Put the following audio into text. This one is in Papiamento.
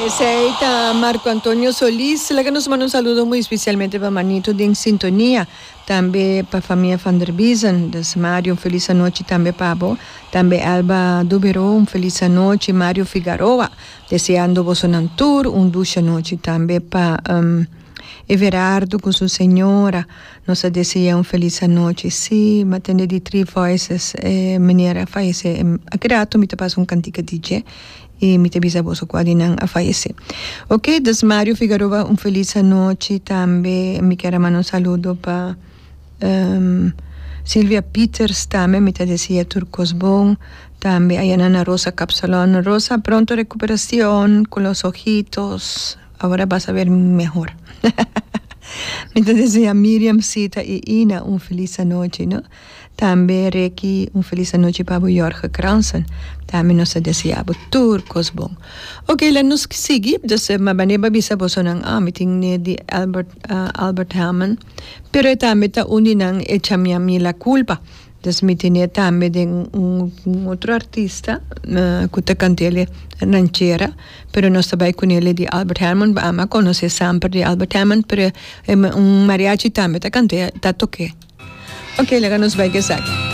Esey ta Marco Antonio Solis. Laga nos manda un saludo muy especialmente pa Manito den sintonia. Tambe pa famia Van der Biezen. Dus Mario un feliz anochi tambe pa bo. Tambe Elba Dubero un feliz anochi. Mario Figaroa deseando bosonan tur un dushi anochi. Tambe pa Everardo cu su señora. Nos a desea un feliz anochi. Sí, m'a tende di Three Voices e meneer a fayece. Aki rato mi ta pasa un cantica di dje y mi ta bisa boso cua di nan a fayece. Ok, dus Mario Figaroa un feliz anochi. Tambe mi kier a manda un saludo pa Silvia Pieters tambe mi ta desea tur cos bon. Tambe aya nan na Rosa Capsalon. Rosa, pronto recuperacion cu los ojitos. Ahora bas a ver mehor. Mi ta desea Miriam, Sita y Ina un feliz anochi, no? Tambe Ricky un feliz anochi pa bo Jorge Kransen. Tambe nos ta desea bo tur cos bon. Ok, la nos sigui. Dus ma bane ba bisa bosonan, ah, mi tin ne di Albert, Albert Hammond. Pero e tambe ta un di nan Echami a mi la culpa. Dus mi tene tambe den un otro artista cu ta cant'ele ranchera, pero nos ta bay cunele di Albert Hammond, bo ama conoce samper di Albert Hammond, pero un mariachi tambe ta cant'e, ta toke. Ok, laga nos bay cu esaki.